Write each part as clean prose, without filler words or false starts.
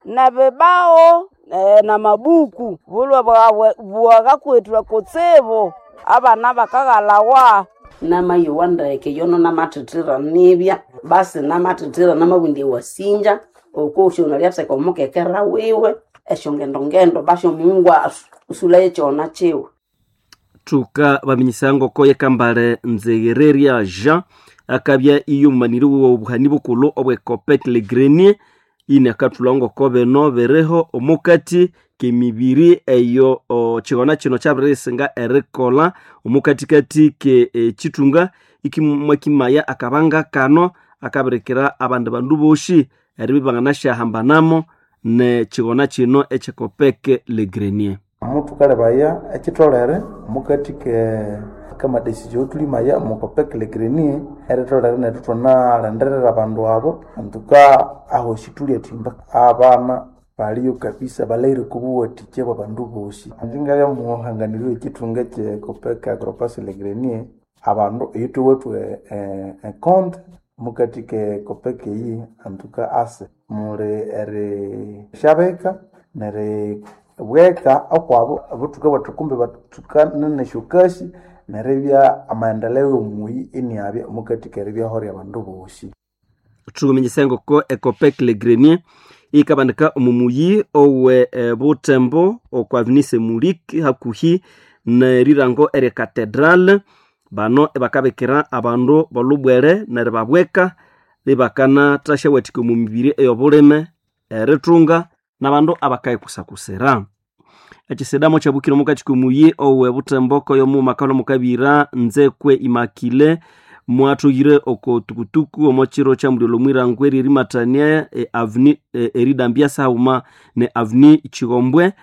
Nebibao namabuku bulwe bwagakwetwe kutsibu abana bakagalawa. Namayowa ndeke yono namathethera nibya basi namathethera namabundya ewasinja okwosi ono lyatheka omukekera wiwe esyongendongendo basi omungu usulaye kyona kyiwe. Thuka baminyisa ngoko yekambale Nzeghereria Jean akabya iyo mumaniri w'obuhani bukulhu obwe Copec Le Grenier ine akathulha ngoko bino biriho omukati k'emibiri eyo kigona kino kyabiriyisinga erikolha omukatikati ke ekithunga ikimwakimaya akabanga kano akabirikira abandi bandu bosi eribya ibanganasyahambanamo nekigona kino ekye Copec Le Grenier. Muthukalebaya ekitholere omukati k'amadecision eyathulimaya omo Copec Le Grenier eritholere nethu ithwanalindirira abandu abo antuka ahosi thulyathimba abana baliyo kabisa balhaghire okwa buwathikya bwa bandu bosi. Ingye ngabya muhanganiri w'ekithunga ekye Copec Agropass Le Grenier abandu eyithuwithe econte omukati ke Copec eyi antuka ase muli erishabika neribweka okwabo obuthuku bwethu kumbi bathukane nesyokasi neribya amaendeleo yomuyi iniabya omukati keribyaho ryabandu bosi. Thukuminyisa ngoko e Copec Le Grenier yikabandika omu muyi owe Butembo okwa Avenue Semulik hakuhi nerirango erye Cathedral. Bano ibakabikira abandu bolubwere neribabweka ibakanathasyawathika omu mibiri ey'obulime erithunga n'abandu abakayikusakusira. Ekisidamo kyabukire omukati k'omuyi owe Butembo koyo makalo mukabira Nzekwe Immaculée mwathughire oko tukutuku omo kiro kya mulyolho omwirango eryerimathania avenue eridambya saghuma ne avenue Kigombwe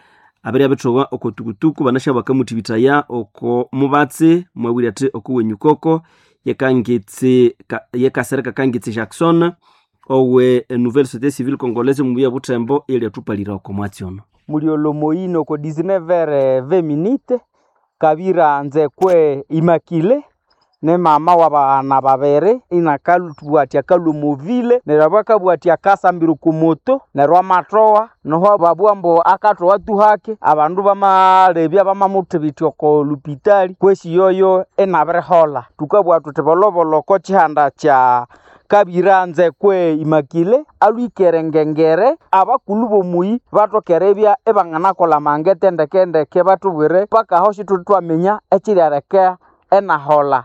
abirya bithowa oko tukutuku banasya bakamuthibithaya oko mubatsi mwabwire athi oko wenyukoko yekangitsi yekasereka Kangitsi Jackson owe Nouvelle Société Civile Congolaise mubuya Butembo elyathupalira oko mwatsi ono. Mulyolho moyino oko 19h20 kabira Nzekwe Immaculée ne mama w'abaghana babiri inakalubwatya akalwa omovile neryo abya akabwatya akasambira oko moto neryo amathowa noho babugha ambu akathowa tu hake abandu bamalebya bamamuthibitya oko lupitali kwesi yoyo inabiriholha. Thukabugha thuthi bolhobolho oko kihanda kya kabira Nzekwe Immaculée alhwikere ngengere abakulhu b'omuyi bathoke eribya ibanganakolha amangete ndeke bathubwire paka aho sithuli thwaminya ekiryaleka enaholha.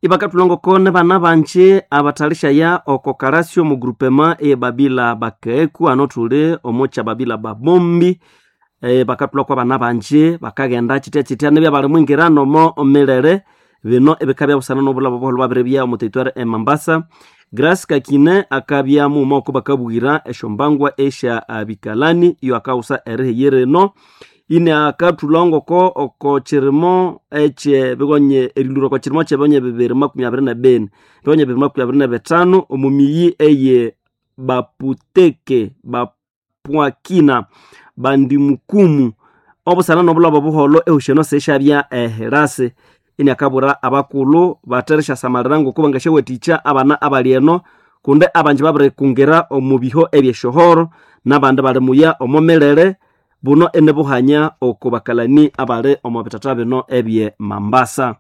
Ibakathulha ngoko nibana banji abathalishaya oko kalasyo omu groupement eye Babila Bakeku ano thuli omo kya Babila Babombi bakathulha kwabana banji bakaghenda kitya-kitya nibya bali mwingira nomo milere bino ebikabya busana n'obulabo obuholho bwabiribya omu territoire e Mambasa. Grace Kakine akabya mughuma oko bakabwira esyombangwa esya bikalani iyo akawusa eriheyera eno ine akathulha ngoko oko kirimo ekye bigonye erilura oko kirimo kyebonye 2024 bigonye 2025 omu miyi eye Baputeke Bapwakina Bandimukumu obusana n'obulabo obuholho ehusheno sesyabya ehirasi ine akabwira abakulhu batherisyasamalira ngoko bangasyawathikya abana abali eno kundi abanji babirikungira omu biho ebyesyohoro n'abandi bali muya omo milere buno inibuhanya oko bakalani abali omo bithatha bino ebye Mambasa.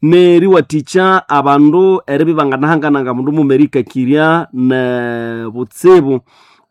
Neriwathikya abandu eribya ibanganahangananga mundu mughuma erikakirya ne butsibu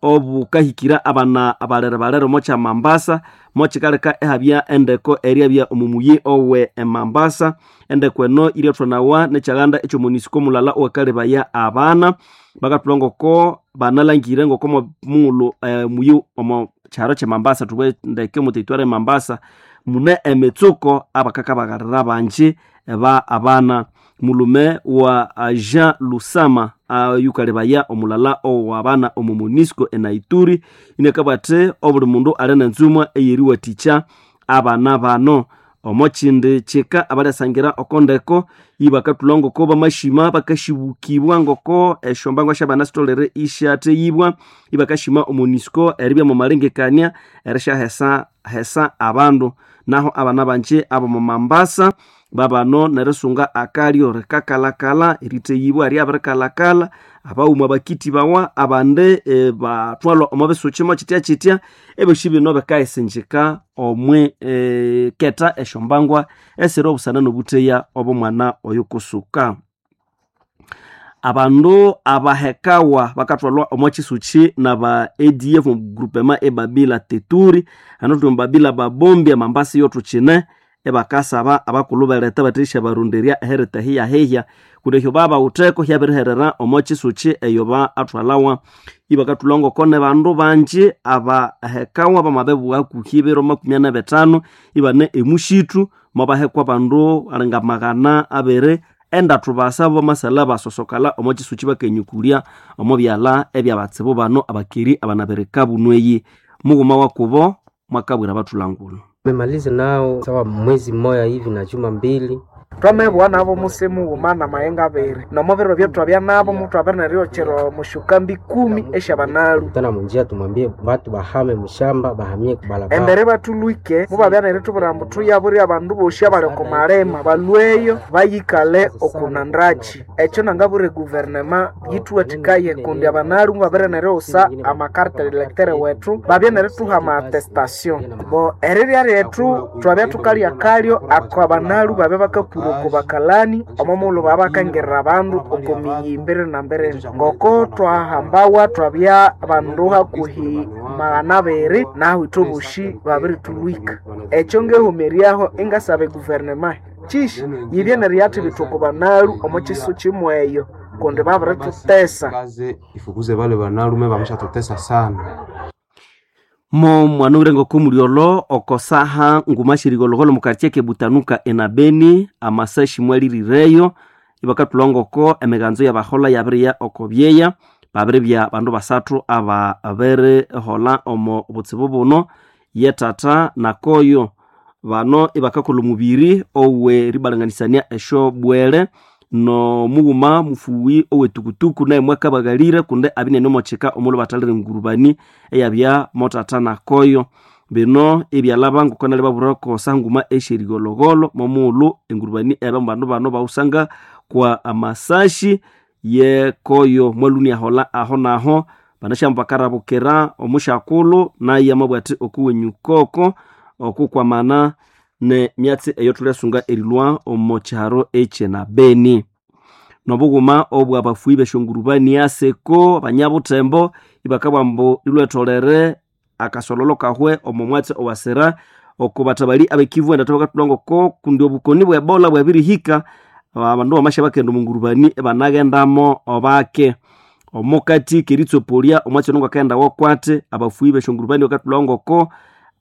obukahikira abana abalere-balere omo kya Mambasa mokikaleka ihabya endeko eryabya omu muyi owe Mambasa. Endeko eno iryathwanawa nekyaghanda ekyomunisiko mulala owakalebaya abana bakathulha ngoko banalangire ngoko mughulhu muyi omo kyaro kye Mambasa thubughe ndeke omu territoire e Mambasa mune emitsuko abakakabaghalira banji ba abana. Mulume wa Jean Lusama ayukalebaya omulala owabana omu munisiko enaituri inakabugha athi obuli mundu ali nenzumwa eyeriwathikya abana bano. Omo kindi kika abalyasangira oko ndeko ibakathulha ngoko bamashima bakashibukibwa ngoko esyombangwa syabana sitholere isyatheyibwa ibakashima omunisiko eribya mwamalengekania erisyahesa hesa abandu. Naho abana banji abomo Mambasa Babano nerisunga akalyo rikakalakala eriteyibwa ryabirikalakala, abaghuma bakitibawa, abandi bathwalwa omo bisuki mo kitya kitya. Ebyosi bino bikayisinjika omwi keta esyombangwa esiri obusana nobutheya obw'omwana oyo kusuka. Abandu abahekawa bakathwalwa omo kisuki naba ADF omu groupement e Babila Teturi, hano thuli omu Babila Babombi amambasa yothukine, ebakasaba abakulhu beletha bathendisyabaronderya eherita hiyahihya kundi ehyo babawitheko hyabiriherera omo kisuki eyo baathwalawa. Ibakathulha ngoko nebandu bangi abahekawa bamabibugha hakuhi ebiro 45 ibane emushithu, mobahekwa abandu alinga 203 basa bamasala basosokala omo kisuki bakanyukulya omo byalha ebyabatsibu bano abakeri abanabirika bunweyi. Mughuma wakubo mwakabwira abathulangulu. Tumemaliza nao sawa mwezi mmoja hivi na juma mbili. Twamebugha nabo musi mughuma na mayenga abiri, nomo biro ebyethwabya nabo muthwabiri neryokyera mushukambi 10 esyabanalu. Tena munjia tumwambie batu bahame mushamba bahamie kubalabala. Embere bathulwike mubabya nerithubwira ambu thuyabure abandu bosi abali oko malema balweyo bayikale okunandakyi. Ekyo nangabwira eguverinema yithuwathikaye kundi abanalu mubabiri neriwusa amakarte electeur wethu babye nerithuha ama attestation. Bo erirya lyethu thwabya thukalya kalyo ako abanalu babya bakakura oko bakalani omo mughulhu babya bakangirira abandu oko miyi mbiri na mbiri. Ngoko twahambawa twabya bandu hakuhi 200 nahu ithwe bosi babirithulwika. Ekyo ngehumeryaho ingasaba eguverinema kyishi yibye neryathibitha oko banalu omo kisu kimweyo kundi babirithutesa. Kaze ifukuze bale banalume bameshatutesa sana. Mo mwana owire ng'okomulyolo oko saha nguma syerigholhogholho omu quartier kebutanuka enabeni amasashi mwalirireyo, ibakathulha ng'oko emiganzo y'abaholha yabiriya oko byeya, babiribya bandu basathu ababiriholha omo butsibu buno, ye tata nakoyo. Bano ibakakolha omubiri ow'eribalanganisania esyobwere n'omughuma mufughwi ow'etukutuku naye mwakabaghalire kundi abinene omo kika omulhu bathalire engurubani eyabya mothatha nakoyo. Bino ibyalhaba ngoko nali babwira oko saha nguma esyerigholhogholho momughulhu engurubani eyabya mu bandu bano bawusanga kwa amasashi yekoyo mwalhwa iniaholha aho naho. Banasyamu bakarabukira omusyakulhu naye amabugha athi okuwenyukoko okukwamana nemyatsi eyothulyasunga erilhwa omo kyiharo ekyenabeni. Nobughuma obwabafuyi b'esyongurubani aseko abanyabuthembo ibakabugha ambu lilwetholere akasololo kahwe omo mwatsi owasira oko bathabali abekivu endathu bakathulha ngoko kundi obukoni bwe Ebola bwabirihika, abandu bamasya bakenda omo ngurubani ibanaghendamo bake. Omukati keritsopoliya omwatsi ono ngwakaghenda wokwati, abafuyi b'esyongurubani bakathulha ngoko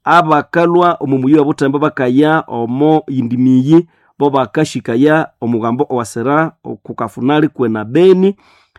abakalhwa omo muyi obuthembo bakaya omo yindi miyi bo bakashikaya omughambo owasira okukafunali kwenabeni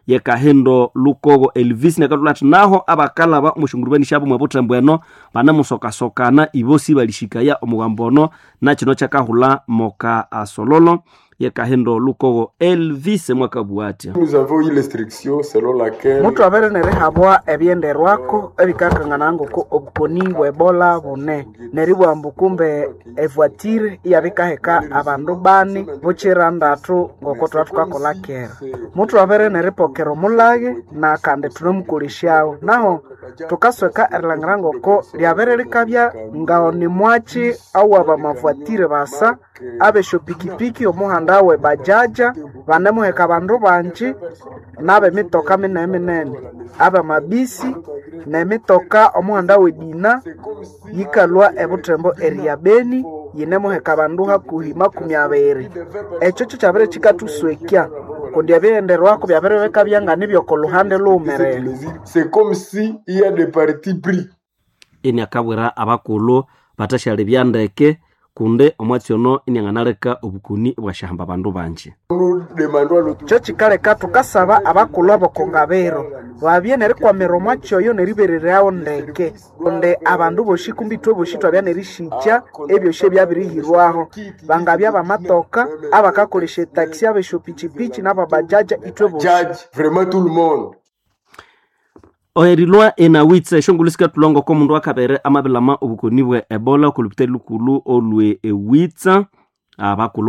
yekahindo Lukogo Elvis nakathulha athi naho abakalhaba omo syongurubani syabo mwe buthembo eno banemusokasokana ibo sibalishikaya omughambo ono nakino kyakahulha moka asololo yekahindo Lukogo Elvis mwakabugha athya. Nous avons eu l'instruction selon laquelle Muthwabere nerihabwa ebyenderwako ebikakangana ngoko obukoni bwe Ebola bune, neribugha ambu kumbe evuatire iyabikaheka abandu bani bukira ndathu ngoko thwabya thukakolha kera. Muthwabere neripokera omulhaghe nakandi thunemukolesyawo. Naho thukasweka erilhangira ngoko lyabere likabya ng'onimwakyi awabamavuatire basa ab'esyopikipiki omuhanda we bajaja banemuheka abandu bangi n'ab'emitoka minene-minene, ab'amabisi n'emitoka omuhanda w'edina yikalhwa ebuthembo eriya Beni yinemuheka abandu hakuhi 20. Ekyo kyokyabere kikathuswekya kundi ebighenderwako byabiribikabya nganibyoko lhuhande lhughumerere. C'est comme si il y a des partis pris. Iniakabwira abakulhu bathasyalebya ndeke kundi omwatsi ono inianganaleka obukoni ibwasyahamba abandu bangi. Nous demandons à l'autorité Kyo kikaleka thukasaba abakulhu ab'okongabiro babye nerikwamira omwatsi oyo neribereryawo ndeke kundi abandu bosi kumbi ithwe bosi thwabya nerisikya ebyosi ebyabirihirwaho. Bangabya bamatoka, abakakolesya etaxi, ab'esyopichipichi n'ababajaja ithwe bosi. judge vraiment tout le monde. Erilhwa enawitsa esyongulhu sikathulha ngoko omundu akabere amabilama obukoni bwe Ebola oku lupitali lukulhu olwe ewitsa abakulhu.